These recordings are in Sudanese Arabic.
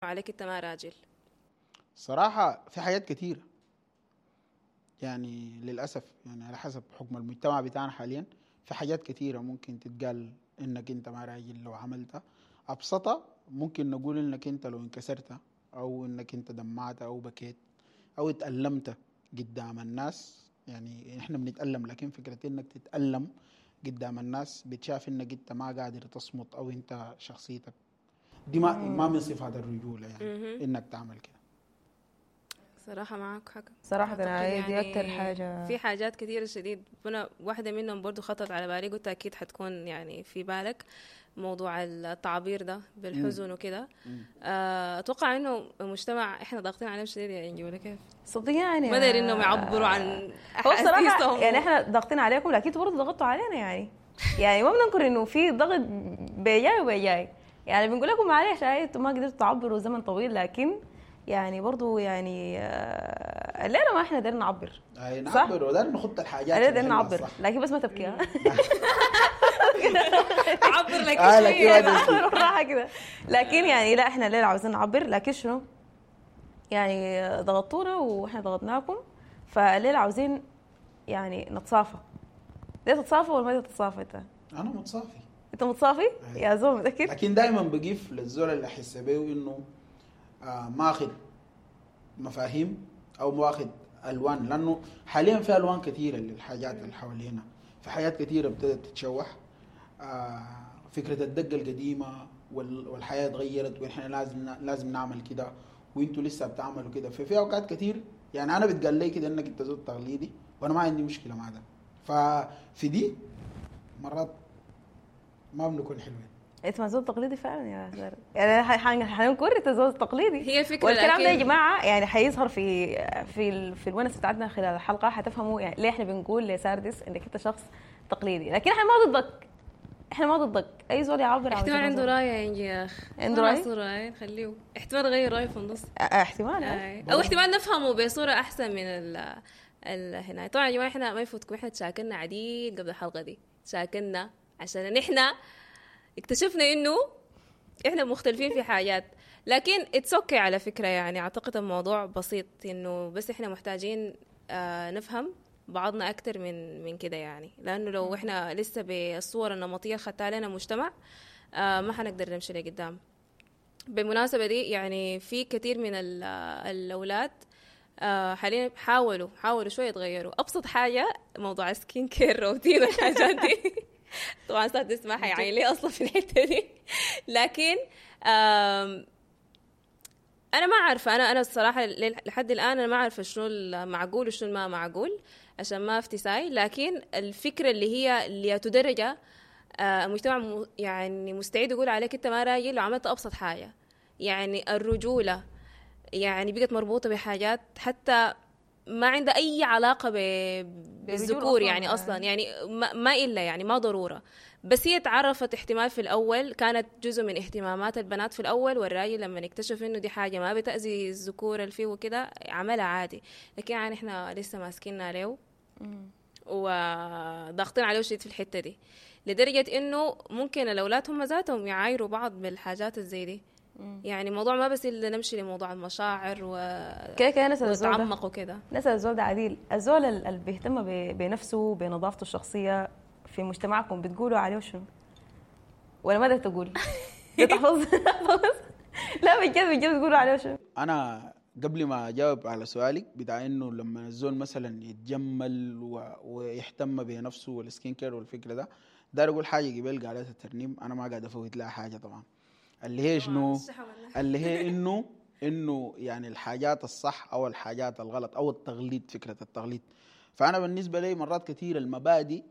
عليك انت ما راجل؟ صراحة في حاجات كثيرة، يعني للأسف يعني على حسب حكم المجتمع بتاعنا حاليا في حاجات كثيرة ممكن تتقال إنك أنت ما راجل لو عملتها. أبسطها ممكن نقول إنك أنت لو انكسرت أو إنك أنت دمعت أو بكيت أو اتألمت قدام الناس. يعني إحنا بنتألم، لكن فكرة إنك تتألم قدام الناس بتشاف إنك أنت ما قادر تصمت أو أنت شخصيتك دي ما من صفات الرجولة، يعني إنك تعمل كده. صراحة معك حق. صراحة أعتقد أنا دي يعني أكتر حاجة. في حاجات كثيرة شديد، أنا واحدة منهم برضو خطرت على بالي، قلت أكيد حتكون يعني في بالك موضوع التعبير ده بالحزن وكده. أتوقع إنه المجتمع إحنا ضاغطين عليهم شديد يا إنجي، ولا كيف؟ صدقني يعني ما دايرين إنهم يعبروا عن هو بصراحة أحاسيسهم. يعني إحنا ضاغطين عليكم، لكن انتوا برضه ضغطتوا علينا. يعني ما بننكر إنه في ضغط بيجاي وبيجاي، يعني بنقول لكم معلش هاي انتوا ما قدرتوا تعبروا زمن طويل، لكن يعني برضو يعني الليلة ما احنا قدرنا نعبر. أي صح؟ نعبر وداير نخط الحاجات الليلة في قدرنا محلها نعبر، صح. لكن بس ما تبكي، ها؟ عبر لك لكن شوية. ما تبكي. نعبر بالراحة كده، لكن يعني لا احنا الليلة عاوزين نعبر، لكن شنو؟ يعني ضغطونا واحنا ضغطناكم، فالليلة عاوزين يعني نتصافى. ليه تتصافى ولا ما تتصافى انت؟ انا متصافي. انت متصافي؟ أيوة. يا زول متأكد؟ لكن دايما بقيف للزول اللي احس بيه انه ماخذ مفاهيم او ماخذ الوان، لانه حاليا في الوان كثيرة للحاجات اللي حوالينا، في حاجات كثيرة ابتدت تتشوح. فكرة الدقة القديمة والحياة اتغيرت ونحن لازم نعمل كده وانتوا لسه بتعملوا كده. ففي اوقات كثير يعني انا بتقال لي كده انك انت زول تقليدي، وانا ما عندي مشكلة مع ده. ففي دي مرات ما بنكون حلوين. انت ما زول تقليدي فعلا يا سارة، يعني حننكر انت زول تقليدي. هي فكرة، والكلام ده يا لكن جماعة يعني حيظهر في الونس بتاعتنا خلال الحلقة، حتفهموا يعني ليه احنا بنقول لساردس انك انت شخص تقليدي، لكن احنا ما ضدك، احنا ما ضدك. اي زول يعبر عن احتمال وجهة عنده نظره. راي يا انجي يا اخ. عنده ما رأي؟ عصره، نخليه احتمال غير رايه في النص. احتمال. او احتمال نفهمه بصورة احسن من هنا. طبعا يا جماعة احنا ما يفوتكم، احنا تشاكلنا عديل قبل الحلقة دي، تشاكلنا عشان نحن اكتشفنا انه احنا مختلفين في حاجات، لكن it's okay على فكرة. يعني اعتقد الموضوع بسيط، انه بس احنا محتاجين نفهم بعضنا اكتر من كده يعني، لانه لو احنا لسه بالصور النمطية اللي خدتها لنا المجتمع، ما حنقدر نمشي لقدام. بالمناسبة دي يعني في كثير من الأولاد حاليا حاولوا شوية يتغيروا. أبسط حاجة موضوع skin care routine والحاجات دي، طبعا سادس ما حيعين لي أصلا في الحتة دي، لكن أنا ما عارفة، أنا الصراحة لحد الآن أنا ما عارفة شنو المعقول وشنو ما معقول عشان ما أفتي ساي، لكن الفكرة اللي هي اللي درجة المجتمع يعني مستعد يقول عليك أنت ما راجل لو عملت أبسط حاجة. يعني الرجولة يعني بقت مربوطة بحاجات حتى ما عندها أي علاقة بالذكور يعني أصلا، يعني ما إلا يعني ما ضرورة، بس هي تعرفت احتمال في الأول كانت جزء من اهتمامات البنات في الأول، والراجل لما اكتشف إنه دي حاجة ما بتأذي الذكور اللي فيه وكده عملها عادي، لكن يعني إحنا لسه ماسكيننا عليه وضاغطين عليه شديد في الحتة دي، لدرجة إنه ممكن الأولاد هم ذاتهم يعايروا بعض بالحاجات الزي دي. يعني الموضوع ما بس إلا نمشي لموضوع المشاعر كده كده نسأل الزول ده. ونتعمق وكده. نسأل الزول ده عديل، الزول اللي بيهتم بنفسه بنظافته الشخصية في مجتمعكم بتقولوا عليه شنو؟ ولا ماذا تقول؟ بتحفظ؟ لا بجد بتقولوا عليه شنو؟ أنا قبل ما أجاوب على سؤالك بتاع إنه لما الزول مثلا يتجمل ويهتم بنفسه وال skin care والفكرة ده، داير أقول حاجة قبل قالتها الترنيم، أنا ما قاعد أفوت لها حاجة طبعا، اللي هي شنو؟ اللي هي إنه يعني الحاجات الصح أو الحاجات الغلط أو التغليد، فكرة التغليد. فأنا بالنسبة لي مرات كثير المبادئ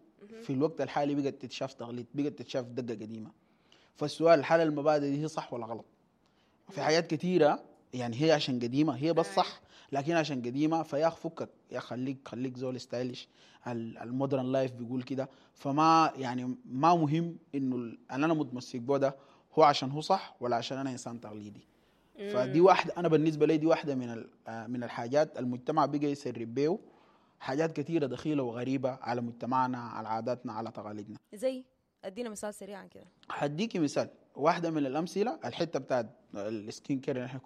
في الوقت الحالي بقت تتشاف تغليد، بقت تتشاف دقة قديمة. فالسؤال هل المبادئ دي هي صح ولا غلط؟ في حاجات كثيرة يعني هي عشان قديمة هي بس صح، لكن عشان قديمة فيا أخ فكك يا خليك زول stylish، ال modern life بيقول كده. فما يعني ما مهم إنه أنا متمسك بو ده هو عشان هو صح ولا عشان أنا إنسان تقليدي. فدي واحدة، أنا بالنسبة لي دي واحدة من الحاجات المجتمع بقى يسرب بيه حاجات كثيرة دخيلة وغريبة على مجتمعنا، على عاداتنا، على تقاليدنا. زي أدينا مثال سريعا كده. هديكي مثال، واحدة من الأمثلة الحتة بتاعت ال skin care اللي احنا